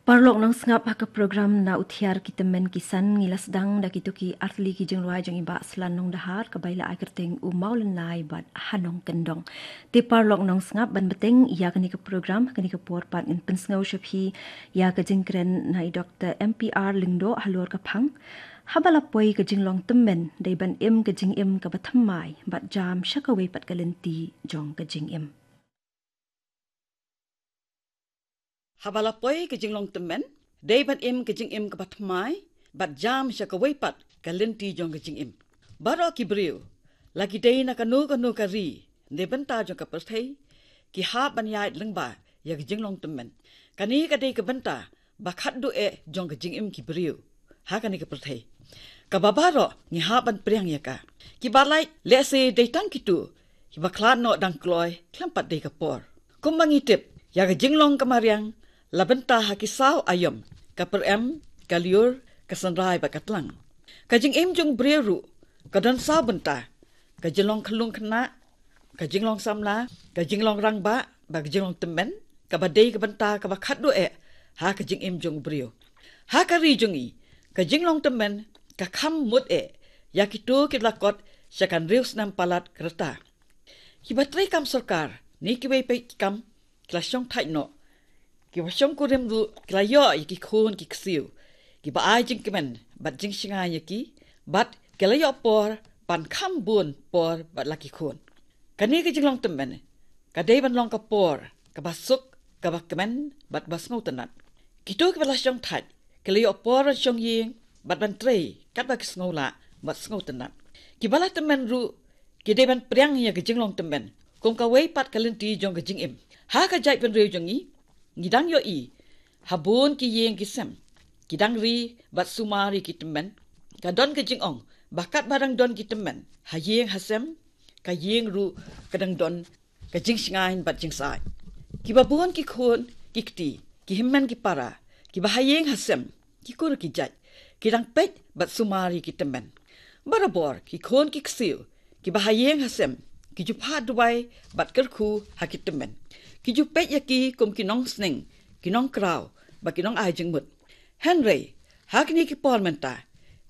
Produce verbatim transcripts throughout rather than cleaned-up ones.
Paralok nongsngap, ha ka program Na U Thiar ki Tymmen ki San ngi la sdang da kito ki artylli ki jingrwai jong i Bah Slan Nongdahar, kaba i la ai kyrteng U Mawlynnai bad Ha Nongkyndong. Te paralok nongsngap, ban bteng ïa kane ka program, kane ka por pat ngin pynsngew sha phi ïa ka jingkren na i Doktor M P R Lyngdoh halor ka phang: Haba la poi ka jinglong tymmen, dei ban im ka jingim kaba thymmai bad jam sha kawei pat ka lynti jong ka jingim. Haba la poi ka jinglong tymmen, dei ban im ka jingim kaba thymmai bad jam sha kawei pat ka lynti jong ka jingim. Baroh ki briew, la ki dei na kano kano ka ri ne bynta jong ka pyrthei, ki hap ban ïaid lyngba ïa ka jinglong tymmen. Kane ka dei ka bynta ba khatduh eh jong ka jingim ki briew ha kane ka pyrthei, kaba baroh ngi hap ban pdiang ïa ka. Kiba lait lehse dei tang kito kiba khlad noh dang kloi khlem pat dei ka por. Kumba ngi tip, ïa ka jinglong ka mariang la bynta ha ki saw aïom: ka pyrem, ka lyiur, ka synrai bad ka tlang. Ka jingim jong u briew ruh ka don saw bynta: ka jinglong khyllung khynnah, ka jinglong samla, ka jinglong rangbah bad ka jinglong tymmen, kaba dei ka bynta kaba khatduh eh ha ka jingim jong u briew. Ha ka ri jong ngi, ka jinglong tymmen ka kham mut eh ïa kito kiba la kot sha ka hynriew snem palat ka rta. Kiba trei kam sorkar ne kiwei pat ki kam ki la shongthait noh. Kiba shongkurim ruh ki la ïoh ïa ki khun ki ksiew kiba ai jingkmen bad jingshngaiñ ïa ki, bad ki la ïoh por ban kham bun por bad la ki khun. Kane ka jinglong tymmen ka dei ban long ka por kaba suk, kaba kmen bad kaba sngewtynnat. Kito kiba la shongthait ki la ïoh por ban shong ïing bad ban trei katba ki sngew lah bad sngewtynnat. Kiba la tymmen ruh ki dei ban pdiang ïa ka jinglong tymmen kum kawei pat ka lynti jong ka jingim. Ha ka jaitbynriew jong ngi, ngi dang ïohi ha bun ki ïing ki sem, ki dang ri bad sumar ïa ki tymmen. Ka don ka jingong ba katba dang don ki tymmen ha ïing ha sem, ka ïing ruh ka dang don ka jingshngaiñ bad jingsyaid. Kiba bun ki khun ki kti, ki hynmen ki para, kiba ha ïing ha sem, ki kur ki jait, ki dang peit bad sumar ïa ki tymmen. Barabor ki khun ki ksiew kiba ha ïing ha sem ki ju phah duwai bad kyrkhu ha ki tymmen. Ki ju peit ïa ki kum ki nongsneng, ki nongkraw bad ki nongai jingmut. Hynrei ha kine ki por mynta,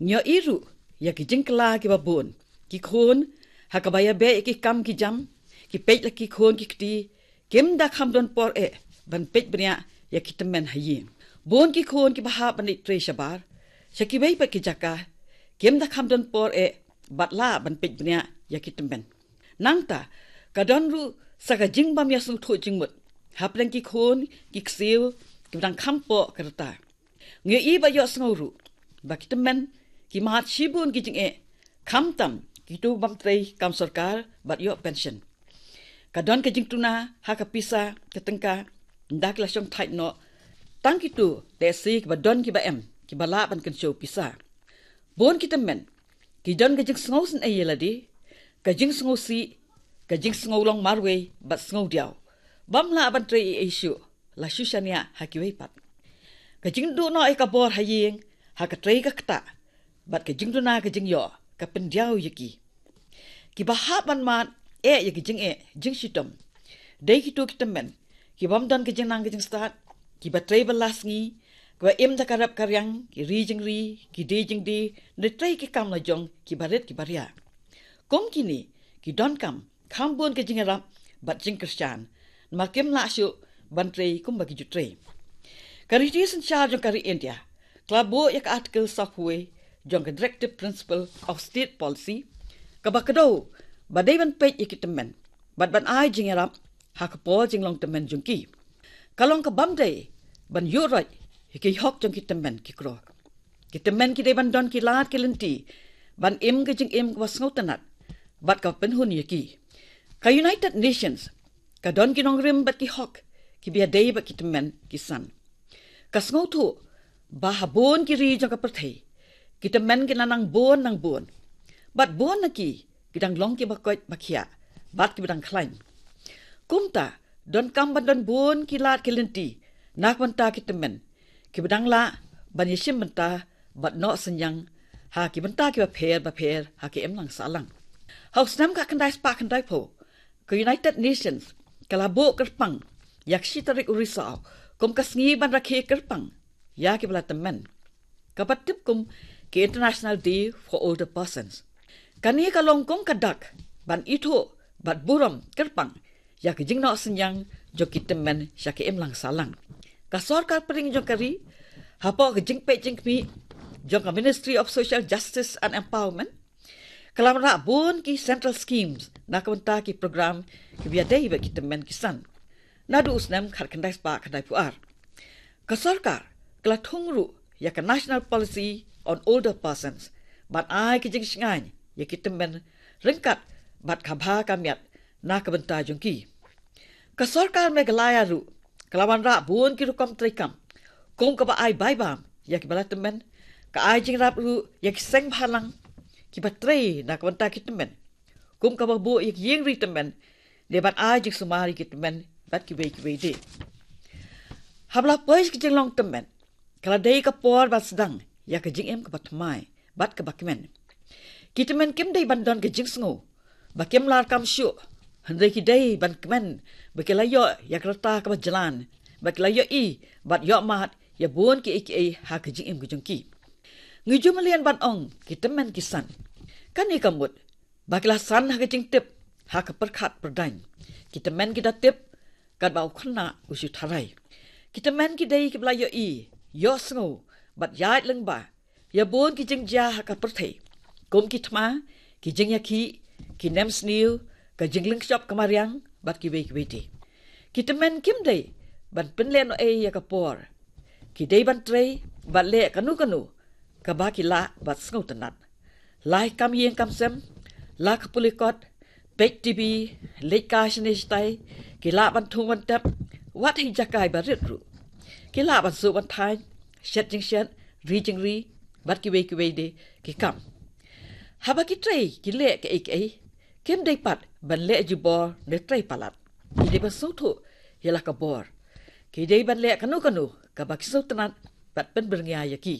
ngi ïohi ruh ïa ki jingkylla kiba bun. Ki khun, ha kaba ïabeh ïa ki kam ki jam, ki peit la ki khun ki kti, kim da kham don por eh ban peit bniah ïa ki tymmen ha ïing. Bun ki khun kiba hap ban leit trei shabar sha kiwei pat ki jaka, kim da kham don por eh bad lah ban peit bniah ïa ki tymmen. Nangta ka don ruh sa ka jingbym ïasngewthuh jingmut hapdeng ki khun ki ksiew kiba dang kham poh ka rta. Ngi ïohi bad ïohsngew ruh ba ki tymmen ki mad shibun ki jingeh, khamtam kito bym trei kam sorkar bad ïoh pension. Ka don ka jingtuna ha ka pisa ka tyngka, ynda ki la shongthait noh. Tang kito lehse kiba don kiba em kiba lah ban kynshew pisa. Bun ki tymmen ki don ka jingsngew sngewsih ïa lade, ka jingsngewsih, ka jingsngew long marwei bad sngewdiaw. Bym lah ban trei ei ei shuh, la shu shaniah ha kiwei pat. Ka jingduh noh ïa ka bor ha ïing ha ka trei ka ktah bad ka jingduna ka jingïoh ka pyndiaw ïa ki. Kiba hap ban mad eh ïa ki jingeh jingshitom dei kito ki tymmen ki bym don ka jingnang ka jingstad, kiba trei ba la sngi, kiba im da ka rep ka riang, ki ri jingri, ki die jingdie, ne trei ki kam la jong kiba rit kiba ria. Kum kine ki donkam kham bun ka jingïarap bad jingkyrshan, namar kim lah shuh ban trei kumba ki ju trei. Ka riti synshar jong ka ri India ka la buh ïa ka Article sawphew jong ka Directive Principle of State Policy, kaba kdew ba dei ban peit ïa ki tymmen bad ban ai jingïarap ha ka por jinglong tymmen jong ki. Ka long ka bym dei ban ïuh roit ïa ki hok jong ki tymmen ki kro. Ki tymmen ki dei ban don ki lad ki lynti ban im ka jingim kaba sngewtynnat bad kaba pynhun ïa ki. Ka United Nations ka don ki nongrim bad ki hok kiba ïadei bad ki tymmen ki san. Ka sngewthuh ba ha bun ki ri jong ka pyrthei, ki tymmen ki la nang bun nang bun, bad bun na ki ki dang long kiba koit ba khiah bad kiba dang khlaiñ. Kumta donkam ban don bun ki lad ki lynti na ka bynta ki tymmen kiba dang lah ban ïashim bynta bad noh synñiang ha ki bynta kiba pher ba pher ha ka imlang sahlang. Ha u snem khatkhyndai spah khyndaiphew, ka United Nations ka la buh kyrpang ïa ka shi tarik u Risaw kum ka sngi ban rakhe kyrpang ïa ki ba la tymmen, kaba tip kum ki International Day for Older Persons. Kane ka long kum ka dak ban ithuh bad burom kyrpang ïa ka jingnoh synñiang jong ki tymmen sha ka imlang sahlang. Ka sorkar pdeng jong ka ri, hapoh ka jingpeit jingkhmih jong ka Ministry of Social Justice and Empowerment, ka la wanrah bun ki central schemes na ka bynta ki program kiba ïadei bad ki tymmen ki san naduh u snem khatkhyndai spah khyndaiphew ar. Ka sorkar ka la thung ruh ïa ka National Policy on Older Persons ban ai ka jingshngaiñ ïa ki tymmen ryngkat bad ka bha ka miat na ka bynta jong ki. Ka sorkar Meghalaya ruh ka la wanrah bun ki rukom treikam kum kaba ai bai bam ïa ki ba la tymmen, ka ai jingïarap ruh ïa ki seng bhalang kiba trei na ka bynta ki tymmen, kum kaba buh ïa ki ïing ri tymmen, dei ban ai jingsumar ïa ki tymmen bad kiwei kiwei de. Haba la poi ki jinglong tymmen, ka la dei ka por ban sdang ïa ka jingim kaba thymmai bad kaba kmen. Ki tymmen kim dei ban don ka jingsngew ba kim lah kam shuh, hynrei ki dei ban kmen ba ki la ïoh ïa ka rta kaba jlan, ba ki la ïohi bad ïohmad ïa bun kiei kiei ha ka jingim ka jong ki. Ngi ju mlien ban ong ki tymmen ki san. Kane ka mut ba ki la san ha ka jingtip ha ka pyrkhat pyrdaiñ. Ki tymmen ki da tip katba u khynnah u shu tharai. Ki tymmen ki dei kiba la ïohi, ïohsngew bad ïaid lyngba ïa bun ki jingjia ha ka pyrthei, kum ki thma, ki jingïakhih, ki nemsniew, ka jinglynshop ka mariang bad kiwei kiwei de. Ki tymmen kim dei ban pynlehnohei ïa ka por. Ki dei ban trei bad leh kano kano kaba ki lah bad sngewtynnat. Lah kam ïing kam sem, lah ka pule kot, peit TV, leit kai shane shatai, ki lah ban thung ban tep, wat ha ki jaka ba rit ruh. Ki lah ban suh ban thaiñ, shet jingshet, ri jingri bad kiwei kiwei de ki kam. Haba ki trei ki leh kiei kiei, kim dei pat ban leh jubor ne trei palat. Ki dei ban sngewthuh ïa la ka bor. Ki dei ban leh kano kano kaba ki sngewtynnat bad pynbyrngia ïa ki.